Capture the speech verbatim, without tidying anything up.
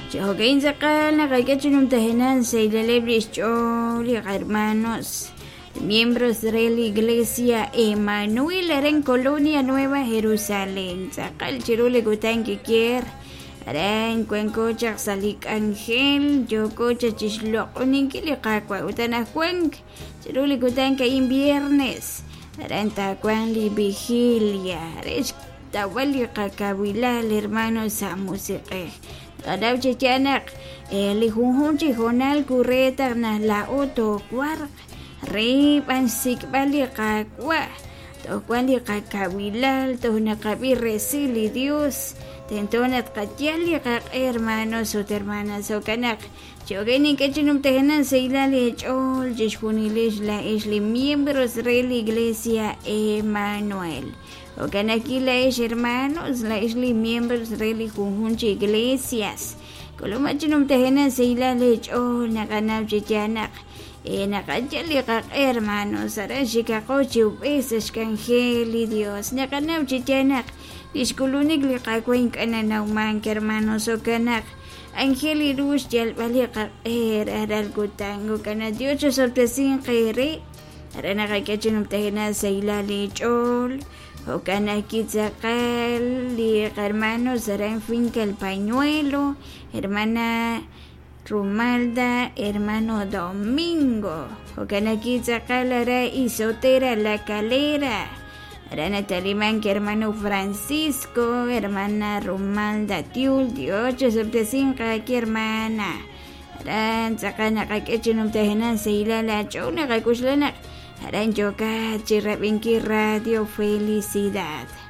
Jo'kan tz'aqal naqak'e chi numtajenaq saylaleb' li xch'ool li hermanos miembros de la Iglesia Emanuel aran Colonia Nueva Jerusalén tz'aqal chiru li kutan kikier aran wanko chaq sa' li k'anjel yooko chaq chixloq'oninkil li Qaawa' ut anajwank chiru li kutan ka'in viernes aran taawanq li vigilia re xtawb'al li qakawilal hermanos sa' musiq'ej qanaw chi yaal naq li junjunq chi hoonal kureetaq naq laa'o toowarq re b'an xsik'b'al li Qaawa' toj wan li qakawilal toj naqab'i resil li Dios tento naq tqayal li qaq'e hermanos ut hermanas jo'kan naq jo'kan ink'a' chi numtajenaq saylal eech'ool chixjunilix laa'ex li miembros re la Iglesia Emanuel jo'kan aquí laa'ex hermanos laa'ex li miembros re li junjunq chi iglesias k'uluma chi numtajenaq saylal eech'ool naqanaw chi yaal naq naqayal li qaq'e hermanos aran xikaqo chi ub'ej sa' xk'anjel li Dios naqanaw chi yaal naq li xk'ulunik li Qaawa' ink'a' nanawmank hermanos jo'kan naq anjel li ru xyalb'al li qaq'e rajlal kutan jo'kan naq Dios chosob'tesinq eere aran naqak'e chi numtajenaq saylal eech'ool jo'kan aquí tz'aqal li hermanos aran Finca El Pañuelo hermana Rumalda, hermano Domingo. Jo'kan aquí tz'aqal ara Isotera La Calera. Aran Taliman, hermano Francisco, hermana Rumalda Tiul, Dios chosob'tesinq aquí hermana. Aran tz'aqal naqak'e chi numtajenaq saylal aach'ool naqak'uxla naq aran yokat chi rab'inki Radio Felicidad.